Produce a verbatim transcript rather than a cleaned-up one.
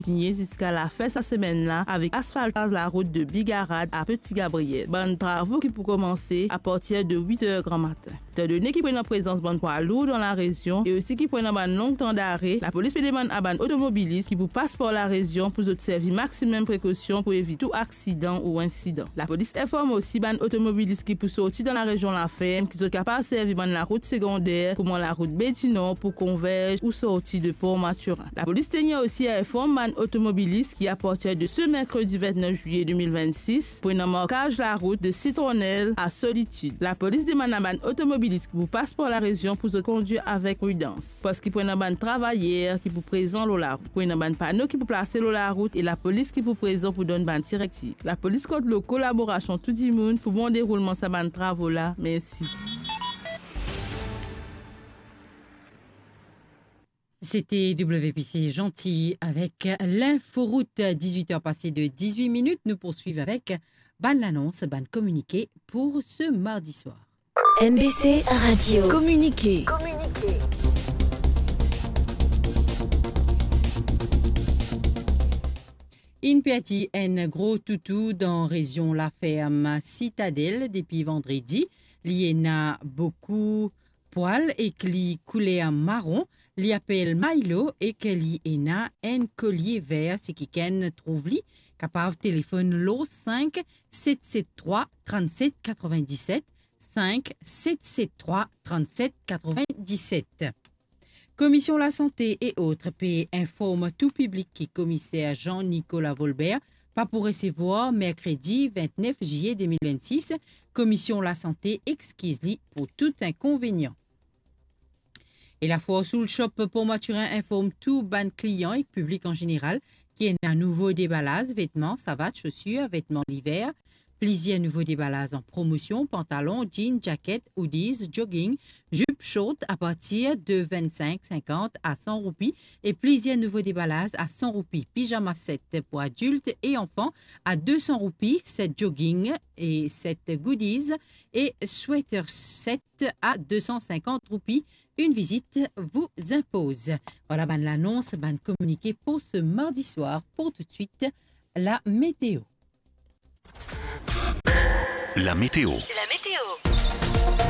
kontinie ziska lafin sa semenn la avek asfaltaz larout de Bigarad a Petit Gabriel. Bann travo ki pou komanse apartir de wit er granmatin. Etandone ki pou ena prezans bann pwa lour dan larezion e osi ki pou ena bann long tan dare, lapolis pe demann a bann otomobilis ki pou pas par larezion pou zot servi maximum prekosion pou evit tou aksidan ou insidan. Lapolis inform osi bann otomobilis ki pou sorti dan larezion Laferm ki zot kapav servi bann larout segonde, kouma larout Be di Nor pou konverz ou sorti de Port Mathurin. Lapolis tenir osi a inform bann otomobilis ki, apartir de se merkredi vintnef zilye de mil vintsis, pou ena markaz larout de Sitronel a Solitid. Lapolis demann a bann otomobilis ki pou pas par larezion pou zot kondwir avek pridans, parski pou ena bann travayer ki pou prezan lor larout, pou ena bann pano ki pou plase lor larout e lapolis ki pou prezan pou donn bann direktiv. Lapolis kont lor kolaborasion tou dimoun pou bon deroulman sa bann travo la. Mersi. C'était W P C Gentil avec l'inforoute. Dix-huit heures passées de dix-huit minutes. Nous poursuivons avec bann lanons, bann kominike pour ce mardi soir. M B C Radio. Kominike. Inn perdi enn gro toutou dan rezion Laferm Sitadel depi vandredi. Li ena boukou pwal ek li kouler maron. Li apel Milo ek li ena enn kolie ver. Si kikenn trouv li, kapav telefonn lor cinq sept sept trois trente-sept quatre-vingt-dix-sept, cinq sept sept trois trente-sept quatre-vingt-dix-sept. Komision Lasante e ot pe inform tou piblik ki Komiser Jean-Nicolas Volbert pa pou resevwar merkredi vintnef zilye de mil vintsis. Komision Lasante exkiz li pou tou inkonvenian. E Lafoire Soul Shop Port Mathurin inform tou bann klian ek piblik an zeneral ki ena nouvo debalaz vetman, savat, sosir, vetman liver, plizier nouvo debalaz an promosion, pantalon, jean, jaket, hoodies, jogging, zip short apartir de vintnsink sinkant a san roupi e plizier nouvo debalaz a san roupi, pijama set pou adilt e anfan a de san roupi, set jogging e set goodies e sweater set a de san sinkant roupi. Une visite vous impose. Voilà bann lanons, bann kominike pour ce mardi soir. Pour tout de suite, la météo. La météo.